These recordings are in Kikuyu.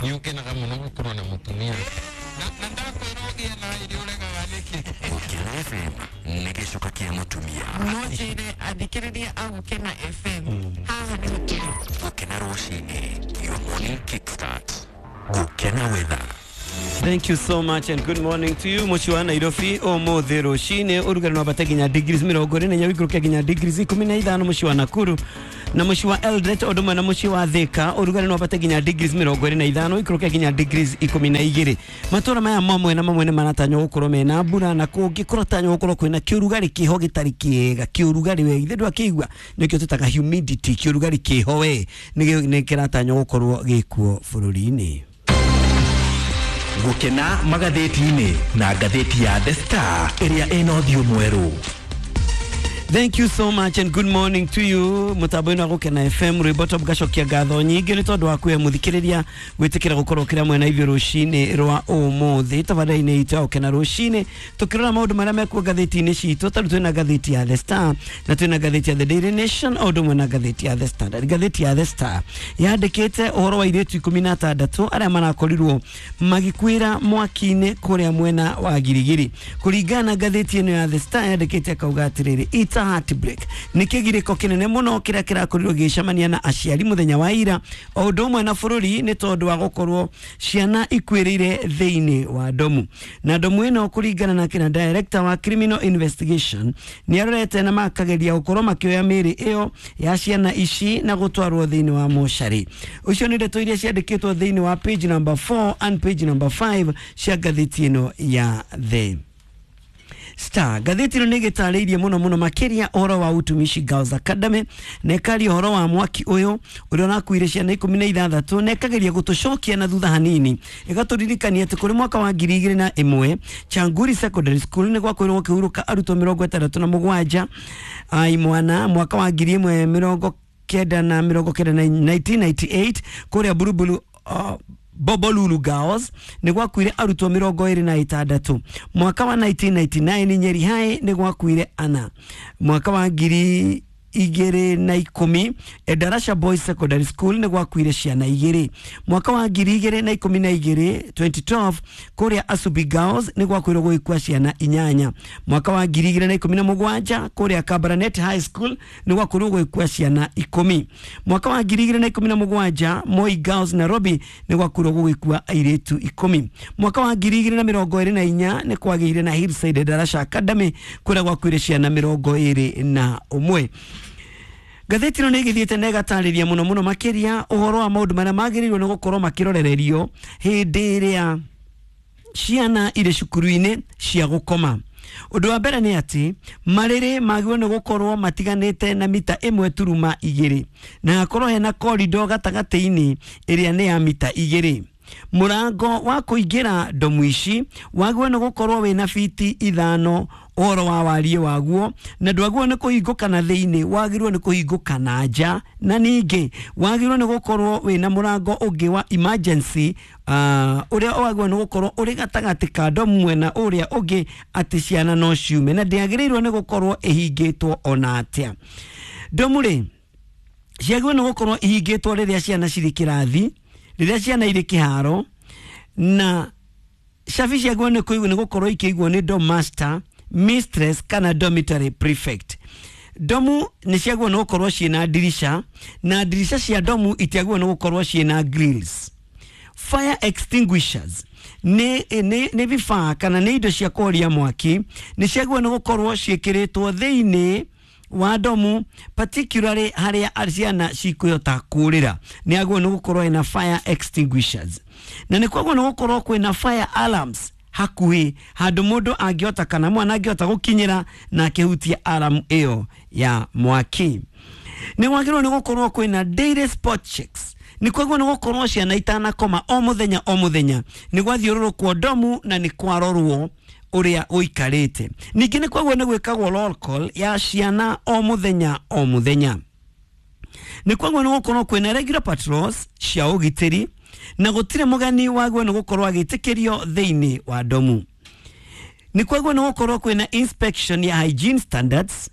Nĩ ũkenaga mũno gũkorwo na mũtumia na ndakwĩra ũgĩe na irio ũregaga nĩkĩ. Gũkena FM nĩ gĩcoka kĩa mũtumia. No njĩre athikĩrĩria a Gũkena FM haha nĩho tũrĩ. Gũkena rũcinĩ, your morning kickstart. Gũkena weather. Thank you so much and good morning to you. Mũciĩ wa Nairobi ũmũthĩ rũcinĩ ũrugarĩ no wambate nginya degrees 24, ũikũrũke nginya degrees 15. Mũciĩ wa Nakuru na mũciĩ wa Eldoret ũndũ ũmwe na mũciĩ wa Thika ũrugarĩ no wambate nginya degrees 25, ũikũrũke nginya degrees 12. Matũra maya mamwe na mamwe nĩ maratanywo gũkorwo mena mbura, na kũngĩ kũratanywo gũkorwo kwĩna kĩũrugarĩ kĩho gĩtarĩ kĩega. Kĩũrugarĩ we ithe ndwakĩigua, nĩkĩo tũtaga humidity. Kĩũrugarĩ kĩho we nĩ kĩratanywo gũkorwo gĩkuo bũrũri-inĩ. Gũkena magathĩti-inĩ na ngathĩti ya The Star ĩrĩa ĩna ũthiũ mwerũ. Thank you so much and good morning to you. Mutambo-inĩ wa Gũkena FM, rwĩmbo top gacokia ngatho nyingĩ nĩ tondũ wa kuhe mũthikĩrĩria gwĩtĩkĩra gũkorwo kĩrĩa mwena ithuĩ rũcinĩ rwa ũmũthĩ tabarĩra-inĩ itũ ya Gũkena rũcinĩ, tũkĩrora maũndũ marĩa mekuo ngathĩti-inĩ citũ. Tarĩu twĩna ngathĩti ya The Star na twĩna ngathĩti ya The Daily Nation o ũndũ ũmwe na ngathĩti ya The Standard. Ngathĩti ya The Star yandĩkĩte ũhoro wa airĩtu 16 arĩa marakorirwo magĩkuĩra mwaki-inĩ kũrĩa mwena wa Girigiri. Kũringana na ngathĩti ĩno ya The Star, yandĩkĩte akauga atĩrĩrĩ, "It's a heartbreak." Nĩ kĩgirĩko kĩnene mũno kĩrĩa kĩrakorirwo gĩgĩcemania na aciari mũthenya wa ira o ũndũ ũmwe na bũrũri, nĩ tondũ wa gũkorwo ciana ikuĩrĩire thĩinĩ wa ndomu. Na ndomu ĩno, kũringana na kĩna director wa criminal investigation, nĩ arorete na makageria gũkorwo makĩoya mĩĩrĩ ĩyo ya ciana ici na gũtwarwo thĩinĩ wa mocarĩ. Ũcio nĩ ndeto iria ciandĩkĩtwo thĩinĩ wa page number 4 and page number 5 cia ngathĩti ĩno ya The Star. Ngathĩti ĩno nĩ ĩgĩtarĩirie mũno mũno makĩria ũhoro wa Utumishi Girls Academy, na ĩkaria ũhoro wa mwaki ũyũ ũrĩa ũrakuire ciana 16, na ĩkageria gũtũcokia na thutha hanini, ĩgatũririkania atĩ kũrĩ mwaka wa 2001 Changuri Secondary School nĩ gwakorirwo gũkĩhurũka arutwo 67 a imwana. Mwaka wa 1990 1998 kũrĩa Buruburu Bobolulu Girls nĩ gwakuire arutwo 26. Mwaka wa 1999 Nyeri High nĩ gwakuire ana. Mwaka wa 2010 Endarasha Boys Secondary School nĩ gwakuire ciana igĩrĩ. Mwaka wa 2012 2012 kũrĩa Asubi Girls nĩ gwakwĩrwo gũgĩkua ciana inyanya. Mwaka wa 2017 kũrĩa Kabarnet High School nĩ gwakwĩrwo gũgĩkua ciana 10. Mwaka wa 2017 Moi Girls Nairobi nĩ gwakwĩrwo gũgĩkua airĩtu 10. Mwaka wa 2024 nĩ kwagĩire na Hillside Darasha Academy kũrĩa gwakuire ciana 21. Ngathĩti ĩno nĩ ĩgĩthiĩte na ĩgatarĩria mũno mũno makĩria ũhoro wa maũndũ marĩa magĩrĩirwo nĩ gũkorwo makĩrorererio hĩndĩ ĩrĩa ciana irĩ cukuru-inĩ cia gũkoma. Ũndũ wa mbere nĩ atĩ marĩrĩ magĩrĩirwo nĩ gũkorwo matiganĩte na mita 1.2, na hakorwo hena korido gatagatĩ-inĩ ĩrĩa nĩ ya mita 2. Mũrango wa kũingĩra ndomu ici wagĩrĩirwo nĩ gũkorwo wĩna fiti 5 ũhoro wa wariĩ waguo, na ndwagĩrĩirwo nĩ kũhingũka na thĩinĩ, wagĩrĩirwo nĩ kũhingũka na nja. Na ningĩ wagĩrĩirwo nĩ gũkorwo wĩna mũrango ũngĩ wa emergency ũrĩa wagĩrĩirwo nĩ gũkorwo ũrĩ gatagatĩ ka ndomu mwena ũrĩa ũngĩ, atĩ ciana no ciume, na ndĩagĩrĩirwo nĩ gũkorwo ĩhingĩtwo ona atĩa. Ndomu rĩ ciagĩrĩirwo nĩ gũkorwo ihingĩtwo rĩrĩa ciana cirĩ kĩrathi, rĩrĩa ciana irĩ kĩharo, na cabi ciagĩrĩirwo nĩ kũigwo nĩ gũkorwo ikĩigwo nĩ dorm master, mistress kana dormitory prefect. Ndomu nĩ ciagĩrĩirwo nĩ gũkorwo ciĩna ndirica, na ndirica cia ndomu itiagĩrĩirwo nĩ gũkorwo ciĩna grills. Fire extinguishers nĩ vifaa kana nĩ indo cia kũhoria mwaki, nĩ ciagĩrĩirwo nĩ gũkorwo ciĩkĩrĩtwo thĩinĩ wa ndomu, particularly harĩa ciana cikũhota kũrĩra, nĩ agĩrĩirwo nĩ gũkorwo ĩna fire extinguishers. Na nĩ kwagĩrĩirwo nĩ gũkorwo kwĩna fire alarms hakuhĩ, handũ mũndũ angĩhota kana mwana angĩhota gũkinyĩra na akĩhutia alarm ĩyo ya mwaki. Nĩ kwagĩrĩirwo nĩ gũkorwo kwĩna daily spot checks. Nĩ kwagĩrĩirwo nĩ gũkorwo ciana itanakoma, o mũthenya o mũthenya nĩ gwathiũrũrũkwo ndomu na nĩ kwarorwo ũrĩa ũikarĩte. Ningĩ nĩ kwagĩrĩirwo nĩ gwĩkagwo roll call ya ciana o mũthenya o mũthenya. Nĩ kwagĩrĩirwo nĩ gũkorwo kwĩna regular patrols cia ũgitĩri, na gũtirĩ mũgeni wagĩrĩirwo nĩ gũkorwo agĩtĩkĩrio thĩinĩ wa ndomu. Nĩ kwagĩrĩirwo nĩ gũkorwo kwĩna inspection ya hygiene standards.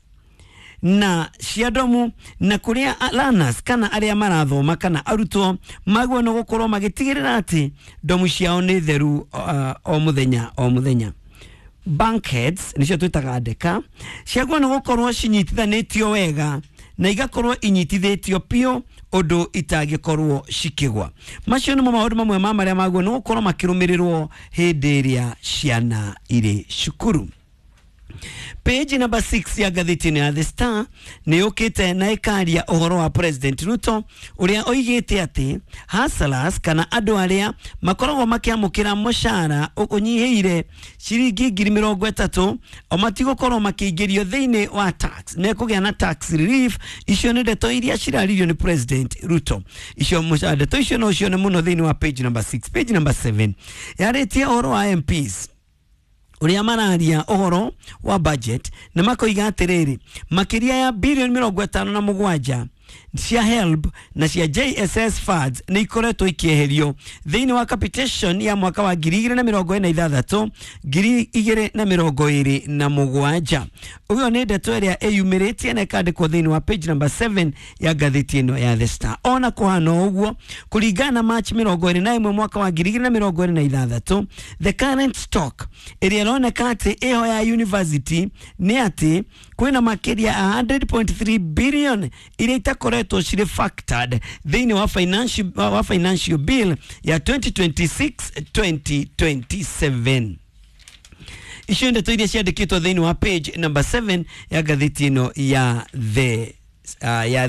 na cia ndomu na kuria learners kana aria marathoma kana arutwo magwo no gukorwo magitigirira ati ndomu ciao ni theru o muthenya o muthenya. Bankheads nicio twitaga ndeka ciagwo no gukorwo cinyitithanitio wega na igakorwo inyitithĩtio piũ ũndũ itangĩkorwo cikĩgwa. Macio nĩmo maũndũ mamwe ma marĩa maguo nĩ gũkorwo makĩrũmĩrĩrwo hĩndĩ ĩrĩa ciana irĩ cukuru. Page number 6 ya ngathĩti ya The Star nĩ yũkĩte na ĩkaria ũhoro wa President Ruto ũrĩa oigĩte atĩ hustlers kana andũ arĩa makoragwo makĩamũkĩra mũcara ũnyihĩire ciringi 30,000 o matigũkorwo makĩingĩrio thĩinĩ wa tax, mekũgĩa na tax relief. Icio nĩ ndeto iria ciraririo nĩ President Ruto. Icio ndeto icio no cione mũno thĩinĩ wa page number 6. Page number 7 yarĩtie ũhoro wa MPs uria mararia uhoro wa budget na makoiga atiriri makiria ya bilioni 57 cia HELB na cia JSS funds ni ikoretwo ikieherio thiini wa capitation ya mwaka wa 2026 2027. Uyo ni ndeto iria iyumiritie na ikandikwo thiini wa page number 7 ya ngathĩti ĩno ya The Star. Ona kuhana ũguo, kũringana na March 21 mwaka wa 2026, the current stock ĩrĩa ĩroneka atĩ ĩho ya university nĩ atĩ kwĩna makĩria ya 100.3 billion iria itakoretwo cirĩ factored thĩinĩ wa financial bill ya 2026 2027. Icio ndeto iria ciandĩkĩtwo thĩinĩ wa page number 7 ya ngathĩti ĩno ya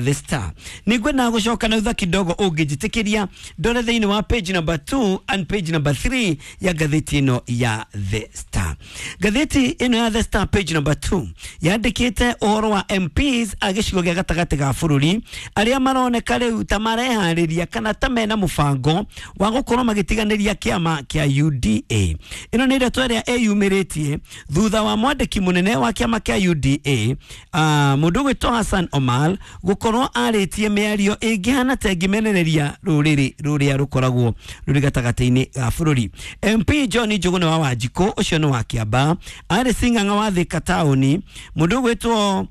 The Star. Nĩngwenda gũcoka na thutha kidogo ũngĩnjĩtĩkĩria ndore thĩinĩ wa page number 2 and page number 3 ya ngathĩti ĩno ya The Star. Ngathĩti ĩno ya The Star page number 2 yandĩkĩte ũhoro wa MPs a gĩcigo gĩa gatagatĩ ga bũrũri arĩa maroneka rĩu ta mareharĩria kana ta mena mũbango wa gũkorwo magĩtiganĩria kĩama kĩa UDA. Ĩno nĩ ndeto ĩrĩa ĩyumĩrĩtie thutha wa mwandĩki mũnene wa kĩama kĩa UDA mũndũ ũgwĩtwo Hassan Omar gukorwo arĩtie mĩario ĩngĩhana ta ĩngĩmenereria rũrĩrĩ rũrĩa rũkoragwo rũrĩ gatagatĩ-inĩ ga bũrũri. MP John Njuguna wa Wanjikũ ũcio nĩ wa Kĩambaa, arĩ Sing'ang'a wa Thika taũni, mũndũ ũgwĩtwo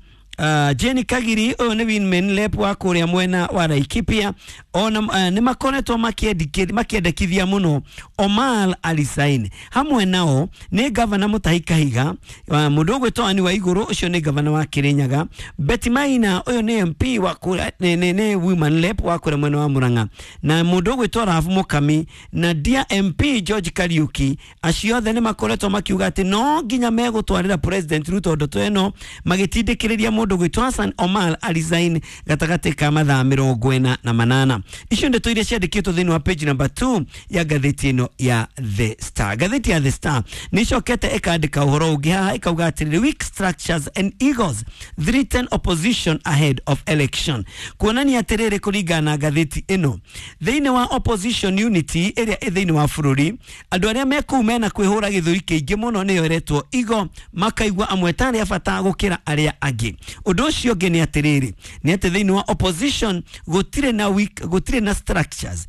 Jenny Kagiri ũyũ nĩ Winman Lep wa kũrĩa mwena wa Laikipia, ona nĩ makoretwo makĩendekithia mũno Omar alisaini. Hamwe nao nĩ gavana Mutahi Kahiga, mũndũ ũgwĩtwo Anne Waigũrũ ũcio nĩ gavana wa Kirinyaga, Betty Maina ũyũ nĩ MP wa kũrĩa nĩ Women Lep wa kũrĩa mwena wa Murang'a, na mũndũ ũgwĩtwo Rahabu Mukami na dear MP George Kariuki. Acio othe nĩ makoretwo makiuga atĩ no nginya megũtwarĩra President Ruto ndoto ĩno, magĩtindĩkĩrĩria mũndũ gwĩtwo Hassan Omar alisaini gatagatĩ ka mathaa 48. Icio ndeto iria ciandĩkĩtwo thĩinĩ wa page number 2 ya ngathĩti ĩno ya The Star. Ngathĩti ya The Star nĩ ĩcokete ĩkandĩka ũhoro ũngĩ haha ĩkauga atĩrĩrĩ, weak structures and egos threaten opposition ahead of election. Kuonania atĩrĩrĩ, kũringana na ngathĩti ĩno, thĩinĩ wa opposition unity ĩrĩa ĩ thĩinĩ wa bũrũri, andũ arĩa me kũu mena kwĩhũra gĩthũri kĩingĩ mũno nĩyo ĩretwo ego, makaigua amwe tarĩ a bata gũkĩra arĩa angĩ. Ũndũ ũcio ũngĩ nĩ atĩrĩrĩ, nĩ atĩ thĩinĩ wa opposition gũtirĩ na weak, gũtirĩ na structures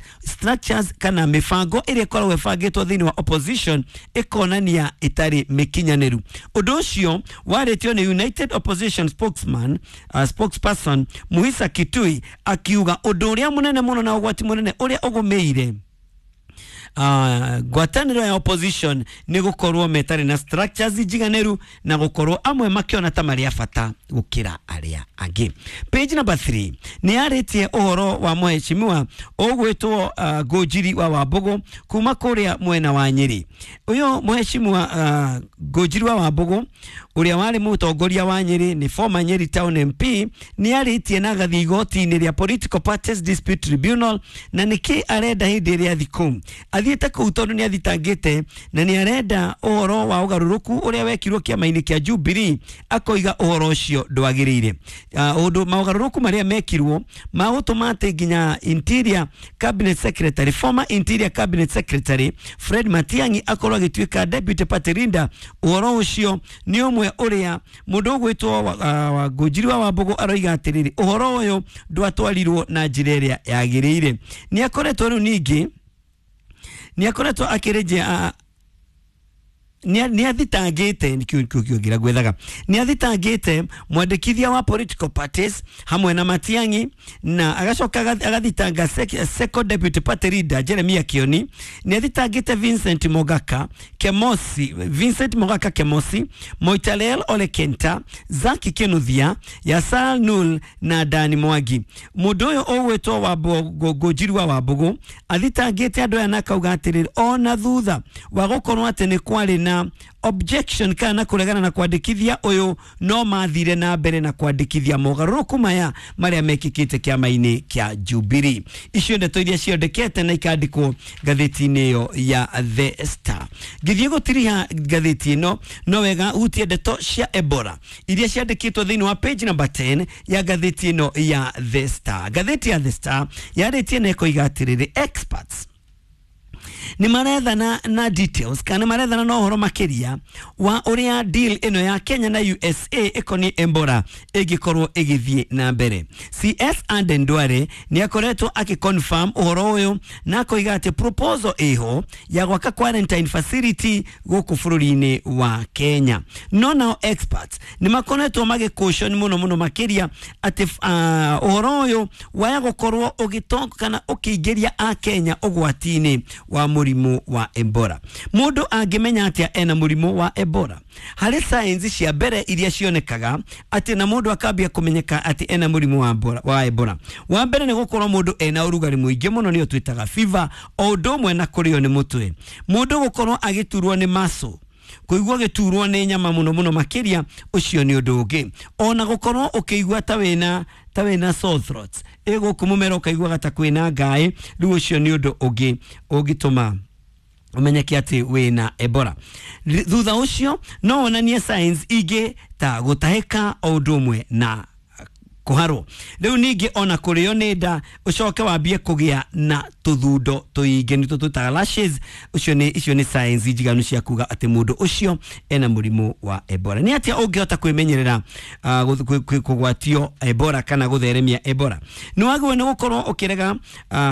kana mĩbango ĩrĩa ĩkoragwo ĩbangĩtwo thĩinĩ wa opposition ĩkonania ĩtarĩ mĩkinyanĩru. Ũndũ ũcio warĩtio nĩ United Opposition spokesperson Muhisa Kitui akiuga ũndũ ũrĩa mũnene mũno na ũgwati mũnene ũrĩa ũgũmĩire ngwatanĩro ya opposition nĩ gũkorwo metarĩ na structures njiganĩru na gũkorwo amwe makĩona ta marĩ a bata gũkĩra arĩa angĩ. Page number 3 nĩ yarĩtie ũhoro wa mheshimiwa ũgwĩtwo Ngũnjiri wa Wambũgũ kuma kũrĩa mwena wa Nyĩrĩ. Ũyũ mheshimiwa Ngũnjiri wa Wambũgũ ũrĩa warĩ mũtongoria wa Nyĩrĩ, nĩ former Nyĩrĩ Town MP, nĩ arĩtie na agathiĩ igoti-inĩ rĩa Political Parties Dispute Tribunal, na nĩkĩ arenda hĩndĩ ĩrĩa athiĩ kũu. Athiĩte kũu tondũ nĩ athitangĩte na nĩ arenda ũhoro wa ũgarũrũku ũrĩa wekirwo kĩama-inĩ kĩa Jubilee, akoiga ũhoro ũcio ndwagĩrĩire. Ũndũ maũgarũrũku marĩa mekirwo magũtũma atĩ nginya Interior Cabinet Secretary, former Interior Cabinet Secretary Fred Matiang'i akorwo agĩtuĩka Deputy Party Leader. Ũhoro ũcio nĩ ũmwe ũrĩa mũndũ ũgwĩtwo wa Ngũnjiri wa Wambũgũ aroiga atĩrĩrĩ, ũhoro ũyũ ndwatwarirwo na njĩra ĩrĩa yagĩrĩire. Nĩ akoretwo rĩu ningĩ nĩ akoretwo akĩrejea Nĩ athitangĩte nĩkĩo gwethaga nĩ athitangĩte mwandĩkithia wa political parties hamwe na Matiang'i, na agacoka agathitanga second deputy party leader Jeremiah Kioni. Nĩ athitangĩte Vincent Mogaka Kemosi, Vincent Mogaka Kemosi, Moitalel Ole Kenta, Zaki Kinuthia, Yasal Nul na Dani Mwangi. Mũndũ ũyũ ũgwĩtwo Wambugu, Ngũnjiri wa Wambugu, athitangĩte andũ aya na akauga atĩrĩrĩ, ona thutha wa gũkorwo atĩ nĩ kwarĩ na objection kana na kũregana na kwandĩkithia ũyũ, no mathire na mbere na kwandĩkithia mogarũrũku maya marĩa mekĩkĩte kĩama-inĩ kĩa Jubilee. Icio ndeto iria ciondekete na ikandĩkwo ngathĩti-inĩ ĩyo ya The Star. Ngĩthiĩ gũtiriha ngathĩti ĩno, no wega hutie ndeto cia Ebola iria ciandĩkĩtwo thĩinĩ wa page number 10 ya ngathĩti ĩno ya The Star. Ngathĩti ya The Star yarĩtie na ĩkoiga atĩrĩrĩ, experts nĩ marethana na details kana marethana na ũhoro makĩria wa ũrĩa deal ĩno ya Kenya na USA ĩkoniĩ Ebola ĩngĩkorwo ĩgĩthiĩ na mbere. CS Aden Duale nĩ akoretwo akĩconfirm ũhoro ũyũ na akoiga atĩ proposal ĩho ya gwaka quarantine facility gũkũ bũrũri-inĩ wa Kenya. No nao experts nĩ makoretwo magĩcaution mũno mũno makĩria atĩ ũhoro ũyũ waya gũkorwo ũgĩtonga kana ũkĩingĩria a Kenya ũgwati-inĩ wa mũrimũ wa Ebola. Mũndũ angĩmenya atĩa ena mũrimũ wa Ebola? Harĩ signs cia mbere iria cionekaga atĩ na mũndũ akambia kũmenyeka atĩ ena mũrimũ wa Ebola. Wa Ebola. Wa mbere nĩ gũkorwo mũndũ ena ũrugarĩ mũingĩ mũno, nĩyo twĩtaga fever, o ũndũ ũmwe na kũrĩo nĩ mũtwe. Mũndũ gũkorwo agĩturwo nĩ muscle, kũigua gĩturwo nĩ nyama mũno mũno makĩria, ũcio nĩ ũndũ ũngĩ. Ona gũkorwo ũkĩigua ta wĩna sore throat, ĩ gũkũ mũmero ũkaiguaga ta kwĩna ngaĩ, rĩu ũcio nĩ ũndũ ũngĩ ũngĩtũma ũmenyeke atĩ wĩna Ebola. Thutha ũcio no wonanie signs ingĩ ta gũtahĩka o ũndũ ũmwe na kũharwo. Rĩu ningĩ ona kũrĩo nĩ nda, ũcoke wambie kũgĩa na tũthundo tũingĩ, nĩtwo twĩtaga rashes. Ũcio nĩ icio nĩ signs njiganu cia kuga atĩ mũndũ ũcio ena mũrimũ wa Ebola. Nĩ atĩa ũngĩhota kwĩmenyerera kũgwatio Ebola kana gũtheremia Ebola? Nĩ wagĩrĩirwo nĩ gũkorwo ũkĩrega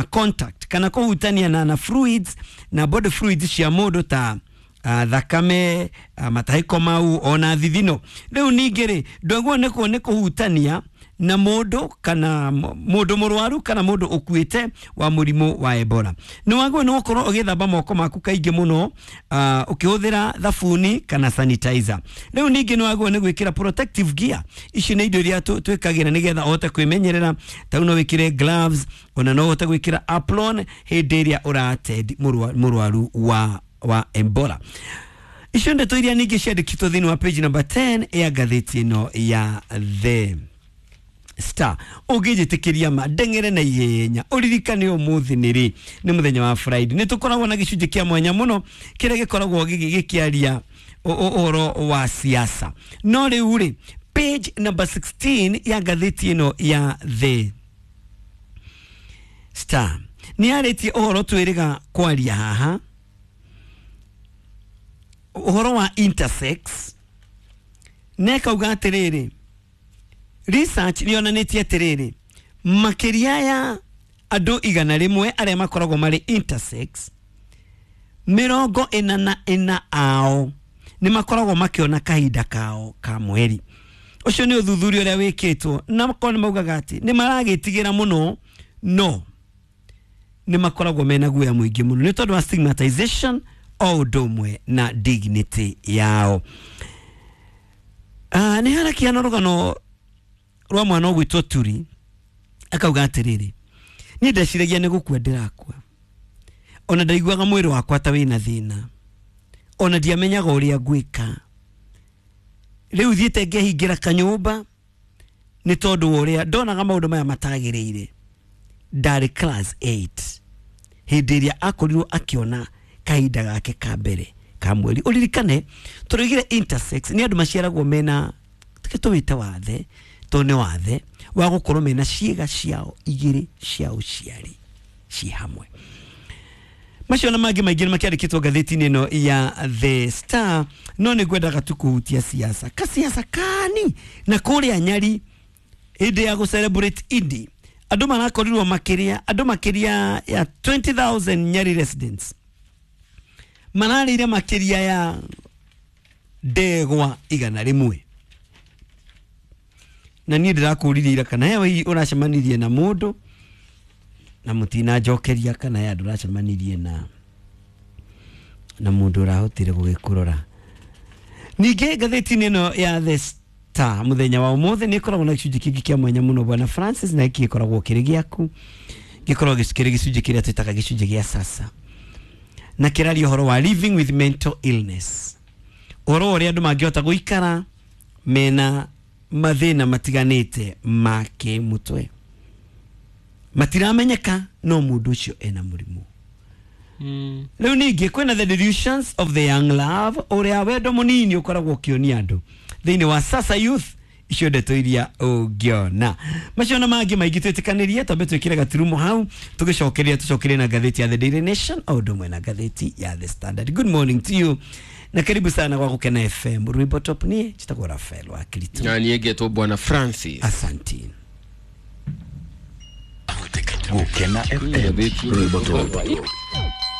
contact kana kũhutania na fluids na body fluids cia mũndũ ta thakame, matahĩko mau ona thithino. Rĩu ningĩ rĩ, ndwagĩrĩirwo nĩ kũhutania na mũndũ kana mũndũ mũrwaru kana mũndũ ũkuĩte wa mũrimũ wa Ebola. Nĩ wagĩrĩirwo nĩ gũkorwo ũgĩthamba moko maku kaingĩ mũno, ũkĩhũthĩra thabuni kana sanitizer. Rĩu ningĩ nĩ wagĩrĩirwo nĩ gwĩkĩra protective gear. Ici nĩ indo iria twĩkagĩra nĩgetha ũhote kwĩmenyerera. Ta rĩu no wĩkĩre gloves, ona no ũhote gwĩkĩra apron hĩndĩ ĩrĩa ũratend mũrwaru wa Ebola. Icio ndeto iria ningĩ ciandĩkĩtwo thĩinĩ wa page number 10 ya ngathĩti ĩno ya The Star. Ũngĩnjĩtĩkĩria ma ndeng'ere na ihenya, ũririkane ũmũthĩ nĩ rĩ? Nĩ mũthenya wa Friday. Nĩ tũkoragwo na gĩcunjĩ kĩa mwanya mũno kĩrĩa gĩkoragwo gĩkĩaria ũhoro wa siasa. No rĩu rĩ, page number 16 ya ngathĩti ĩno ya The Star nĩ yarĩtie ũhoro twĩrĩga kwaria haha, ũhoro wa intersex, na ĩkauga atĩrĩrĩ, research nĩ yonanĩtie atĩrĩrĩ, makĩria ya andũ 100 arĩa makoragwo marĩ intersex, 44 ao nĩ makoragwo makĩona kahinda kao ka mweri. Ũcio nĩ ũthuthuria ũrĩa wĩkĩtwo, na makorwo nĩ maugaga atĩ nĩ maragĩtigĩra mũno, no nĩ makoragwo mena guoya mũingĩ mũno nĩ tondũ wa stigmatization o ũndũ ũmwe na dignity yao. Nĩ harakĩhana rũgano rwa mwana ũgwĩtwo Turi, akauga atĩrĩrĩ, niĩ ndeciragia nĩ gũkua ndĩrakua, ona ndaiguaga mwĩrĩ wakwa ta wĩna thĩna, ona ndiamenyaga ũrĩa ngwĩka. Rĩu thiĩte ngehingĩra kanyũmba nĩ tondũ wa ũrĩa ndonaga maũndũ maya matagĩrĩire. Ndarĩ class 8 hĩndĩ ĩrĩa akorirwo akĩona kahinda gake ka mbere ka mweri. Ũririkane tũroigire intersex nĩ andũ maciaragwo mena, reke tũwĩte wathe, tondũ nĩ wathe wa gũkorwo mena ciĩga ciao igĩrĩ cia ũciari ci hamwe. Macio na mangĩ maingĩ nĩ makĩandĩkĩtwo ngathĩti-inĩ ĩno ya The Star, no nĩ ngwendaga tu kũhutia siasa kasiasa kani na kũrĩa Nyari hĩndĩ ya gũ celebrate Idi, andũ marakorirwo makĩria andũ makĩria ya 20,000 Nyari residents mararĩire makĩria ya Ndegwa 100. Na niĩ ndĩrakũririe ira kana hewe hihi ũracemanirie na mũndũ na mũtinanjokeria, kana he andũ ũracemanirie na mũndũ ũrahotire gũgĩkũrora. Ningĩ ngathĩti-inĩ ĩno ya The Star mũthenya wa ũmũthĩ nĩ ĩkoragwo na gĩcunjĩ kĩngĩ kĩa mwanya mũno, bwana Francis, na gĩkĩ gĩkoragwo kĩrĩ gĩaku, gĩkoragwo kĩrĩ gĩcunjĩ kĩrĩa twĩtaga gĩcunjĩ gĩa sasa, na kĩraria ũhoro wa living with mental illness, ũhoro wa ũrĩa andũ mangĩhota gũikara mena mathĩna matiganĩte ma kĩmũtwe, matiramenyeka no mũndũ ũcio ena mũrimũ. Rĩu ningĩ kwĩna the delusions of the young love, ũrĩa wendo mũnini ũkoragwo ũkĩonia andũ thĩinĩ wa Sasa Youth. Icio ndeto iria ũngĩona macio na mangĩ maingĩ, twĩtĩkanĩrie twambe twĩkĩre gaturumo hau, tũgĩcokeria tũcokerie na ngathĩti ya The Daily Nation o ũndũ ũmwe na ngathĩti ya The Standard. Good morning to you na karibu sana kwa Gukena FM. Rwimbo top, niĩ njĩtagwo Rafael wa Kirito. Na niĩ ngetwo bwana Francis. Asanti. Gukena FM, rwimbo top.